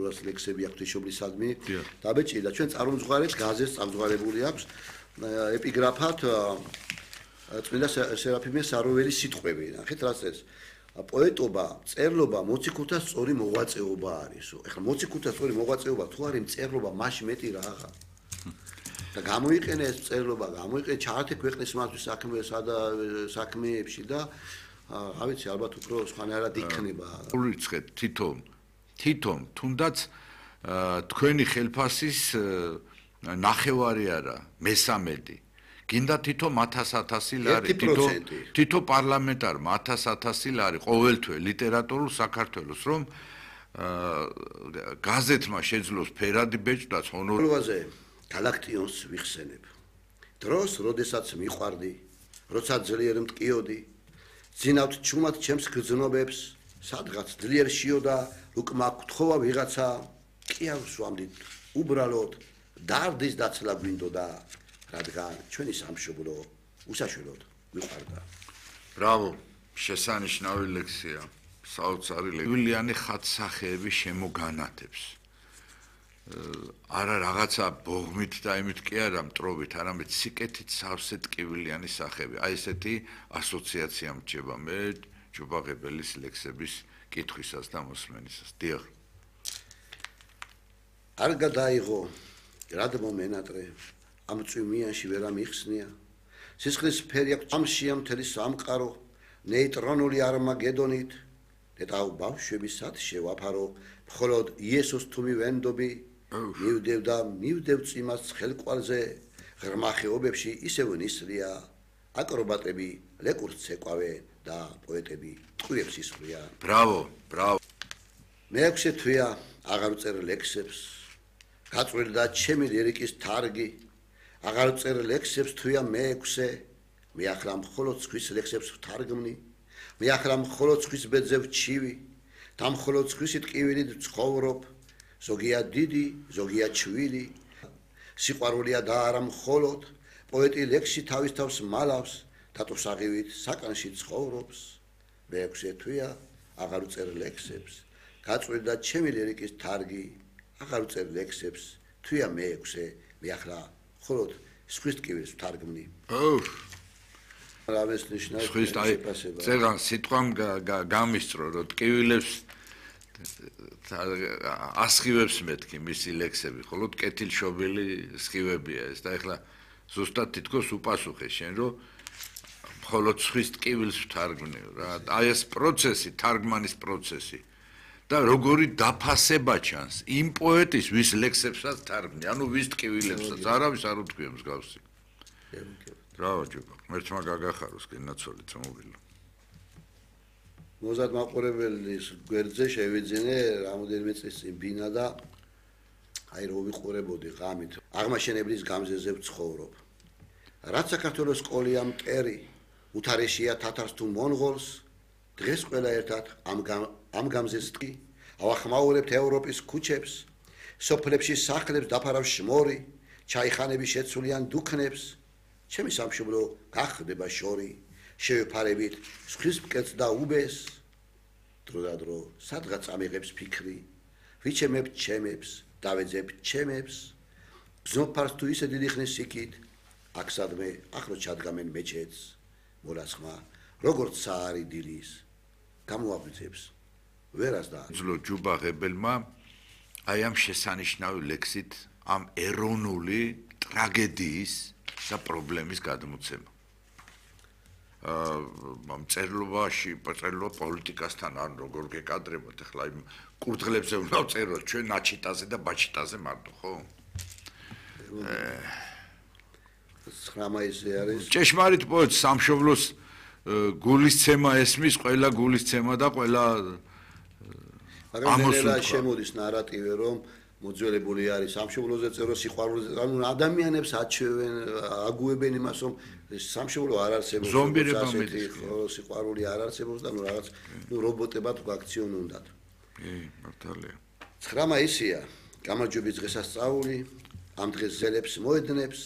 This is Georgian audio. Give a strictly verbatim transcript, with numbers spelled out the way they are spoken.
საშუალებას ლექსები აქვს ღვთისმშობლისადმი დაბეჭირდა. ჩვენ წარმომძღვარებს გაზეთს წამძღვარებული აქვს ეპიგრაფად წმინდა სერაფიმე საროველის სიტყვები. ნახეთ რა წერს. პოეტობა, წერლობა მოციქულთა სწორი მოღვაწეობა არისო. ეხლა მოციქულთა სწორი მოღვაწეობა თუ არის მწერლობა, მაშინ მეტი რაღა. და გამოიყენე ეს წერლობა, გამოიყენე ჩაართე ქვეყნის მართვის საქმესა და საქმეებში და რა ვიცი, ალბათ უფრო სხვანაირად იქნება. ურიცხეთ თვითონ, თვითონ თუნდაც თქვენი ხელფასის ნახევარი არა, მესამედი. გინდა თითო ათას-ათასი ლარი, თითო თითო პარლამენტარმა ათას-ათასი ლარი ყოველთვე ლიტერატურულ საქართველოს, რომ გაზეთმა შეძლოს ფერადი ბეჭდაც ჰონოროვაზე გალაქტიონს ვიხსენებ. დროს, როდესაც მიყვარდი, როცა ძლიერ მტკიოდი, ძინავთ ჩუმად ჩემს გრძნობებს, სადღაც ძლიერ შიოდა, უკმა გთხოვა ვიღაცა, ყიავს ვამდით უბრალოდ, დარდის დაცლა გვინდოდა. რადგან ჩვენი სამშობლო უსაშველოდ მიყვარდა. ბრავო, შესანიშნავი ლექსია. საოცარი ლექსი. ვილიანი ხატსახეები შემოგანათებს. არა რაღაცა ბოღმით და იმით კი არა მტრობით, არამედ სიკეთით სავსე ტკივილიანი სახეები. აი ესეთი ასოციაცია მრჩება მე ჯუბაღებელის ლექსების კითხვისას და მოსმენისას. დიახ. არ გადაიღო, რადგან მომენატრე ამ წვიმიანში ვერ ამიხსნია. სისხლის ფერი აქვს ამშია მთელი სამყარო, ნეიტრონული არმაგედონით. დედაო ბავშვებისად შევაფარო, მხოლოდ იესოს თუ მივენდობი, მივდევ და მივდევ წიმას ხელკვალზე, ღრმა ხეობებში ისევ ნისლია, აკრობატები ლეკურს ეკვავენ და პოეტები ტყუებს ისვრიან. ბრავო, ბრავო. მეექვსე თვეა აღარ ვწერ ლექსებს, გაწვრილდა ჩემი ლირიკის თარგი. აღარ წერ ლექსებს თვია მეექვსე, მე ახლა მხოლოდ ხვის ლექსებს ვთარგმნი, მე ახლა მხოლოდ ხვის ბედზე ვჩივი, და მხოლოდ ხვისი ტკივილით ვცხოვრობ, ზოგია დიდი, ზოგია ჩვილი, სიყვარულია და არა მხოლოდ, პოეტი ლექსში თავის თავს მალავს, დატოსაღივით საკანში ცხოვრობს, მეექვსე თვია აღარ წერ ლექსებს, გაწვრილდა ჩემი ლირიკის თარგი, აღარ წერ ლექსებს თვია მეექვსე, მე ახლა ხოლოდ სხვის ტკივილს ვთარგმნი. ოუ. რავეს ნიშნავს სხვის აი წერან სიტყვამ გამისწრო, რომ ტკივილებს ასხივებს მეთქი მისი ლექსები, ხოლო კეთილშობილი სხივებია ეს და ეხლა ზუსტად თითქოს უპასუხე შენ, რომ მხოლოდ სხვის ტკივილს ვთარგმნი რა. აი ეს პროცესი, თარგმანის პროცესი. და როგორი დაფასება ჩანს იმ პოეტის ვის ლექსებსაც თარგმნი, ანუ ვის ტკივილებსაც, არავის არ უთქვია მსგავსი. ბრავო ჯუბა, მერჩმა გაგახაროს გენაცოლი წამოვილა. მოზარდ მაყურებელის გვერდზე შევიძინე რამოდენიმე წლის წინ ბინა და აი რო ვიყურებოდი ღამით, აღმაშენებლის გამზეზე ვცხოვრობ. რაც საქართველოს სკოლია მტერი, უთარეშია თათარს თუ მონღოლს, დღეს ყველა ერთად ამ ამ გამზეს ტკი, ავახმაურებთ ევროპის ქუჩებს, სოფლებში სახლებს დაფარავს შმორი, ჩაიხანები შეცვლიან დუქნებს, ჩემი სამშობლო გახდება შორი, შევეფარებით სხვის მკეთს და უბეს, დრო და დრო სადღაც ამიღებს ფიქრი, ვიჩემებ ჩემებს, დავეძებ ჩემებს, გზნობფარს თუ ისე დიდი ხნის იქით, აქ სადმე ახლო ჩადგამენ მეჩეთს, მოლასხმა, როგორც საარი დილის, გამოაბრძებს ვერას და ძლო ჯუბაღებელმა აი ამ შესანიშნავი ლექსით ამ ეროვნული ტრაგედიის და პრობლემის გადმოცემა. აა წერლობაში, წერლობა პოლიტიკასთან არ როგორ გეკადრებოთ, ახლა იმ კურდღლებზე უნდა ვწეროთ ჩვენ ნაჩიტაზე და ბაჩიტაზე მარტო, ხო? ცხრა მაისი არის. ჭეშმარიტ პოეტს სამშობლოს გულისცემა ესმის, ყველა გულისცემა და ყველა ამოსულება შემოდის ნარატივი, რომ მოძველებული არის სამშობლოზე წერო სიყვარულზე, ანუ ადამიანებს აჩვევენ, აგუებენ იმას, რომ სამშობლო არ არსებობს, ზომბირება მიდის, ხო, სიყვარული არ არსებობს და ნუ რაღაც ნუ რობოტებად გვაქციონუნდათ. კი, მართალია. ცხრა მაისია, გამარჯვების დღესასწაული, ამ დღეს ზელებს მოედნებს